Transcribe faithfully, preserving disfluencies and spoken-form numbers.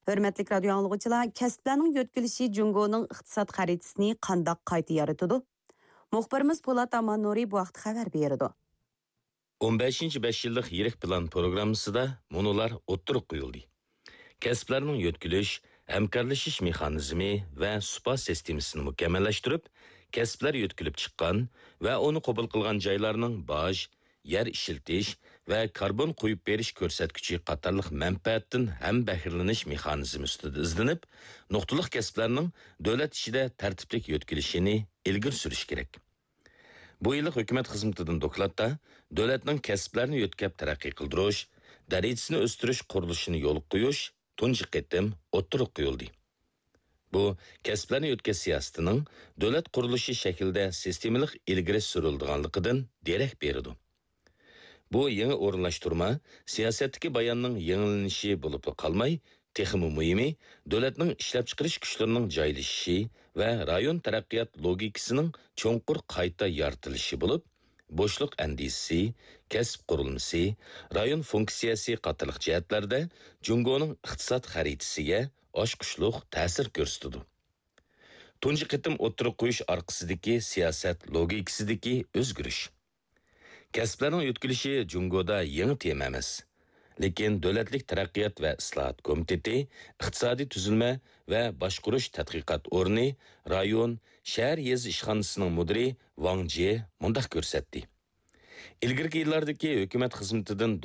ھۆرمەتلىك رادىيو ئاڭلىغۇچىلار، كەسىپلەرنىڭ يۆتكىلىشى جۇڭگونىڭ ئىقتىساد خەرىتىسىنى قانداق قايتا يارىتىدۇ؟ مۇخبىرىمىز پولات ئاماننۇرى بۇ ھەقتە خەۋەر بېرىدۇ. ئون بەشىنچى بەش يىللىق يىرىك پىلان پروگراممىسىدا مۇنۇلار ئوتتۇرىغا قويۇلدى. كەسىپلەرنىڭ يۆتكىلىش، ھەمكارلىشىش مېخانىزمى ۋە سۇپا سىستېمىسىنى مۇكەممەللەشتۈرۈپ، كەسىپلەر يۆتكىلىپ چىققان ۋە ئۇنى قوبۇل قىلغان جايلارنىڭ باج، يەر ئىشلىتىش ۋە كاربون قويۇپ بېرىش كۆرسەتكۈچى قاتارلىق مەنپەئەتتىن ھەم بەھرىلىنىش مېخانىزمى ئۈستىدە ئىزدىنىپ، نۇقتىلىق كەسىپلەرنىڭ دۆلەت ئىچىدە تەرتىپلىك يۆتكىلىشىنى ئىلگىرى سۈرۈش كېرەك. بۇ يىللىق ھۆكۈمەت خىزمىتىدىن دوكلاتتا دۆلەتنىڭ كەسىپلەرنى يۆتكەپ تەرەققىي قىلدۇرۇش، دەرىجىسىنى ئۆستۈرۈش قۇرۇلۇشىنى يولغا قويۇش تۇنجى قېتىم ئوتتۇرىغا قويۇلدى. بۇ كەسىپلەرنى يۆتكەش سىياسىتىنىڭ دۆلەت قۇرۇلۇشى شەكلىدە سىستېمىلىق ئىلگىرى سۈرۈلىدىغانلىقىدىن دېرەك بېرىدۇ. بۇ يېڭى ئورۇنلاشتۇرما سىياسەتتىكى باياننىڭ يېڭىلىنىشى بولۇپلا قالماي، تېخىمۇ مۇھىمى، دۆلەتنىڭ ئىشلەپچىقىرىش كۈچلىرىنىڭ جايلىشىشى ۋە رايون تەرەققىيات لوگىكىسىنىڭ چوڭقۇر قايتا يارىتىلىشى بولۇپ، بوشلۇق ئەندىزىسى، كەسىپ قۇرۇلمىسى، رايون فۇنكسىيەسى قاتارلىق جەھەتلەردە جۇڭگونىڭ ئىقتىساد خەرىتىسىگە ئاچقۇچلۇق تەسىر كۆرسىتىدۇ. تۇنجى قېتىم ئوتتۇرىغا قويۇش ئارقىسىدىكى سىياسەت لوگىكىسىدىكى ئۆزگىرىش. كەسىپلەرنىڭ يۆتكىلىشى جۇڭگودا يېڭى تېما ئەمەس. لېكىن دۆلەتلىك تەرەققىيات ۋە ئىسلاھات كومىتېتى، ئىقتىسادىي تۈزۈلمە ۋە باشقۇرۇش تەتقىقات ئورنى، رايون، شەھەر يېزا ئىشخانىسىنىڭ مۇدىرى ۋاڭ جې مۇنداق كۆرسەتتى. ئىلگىرىكى يىللاردىكى ھۆكۈمەت خىزمىتىدىن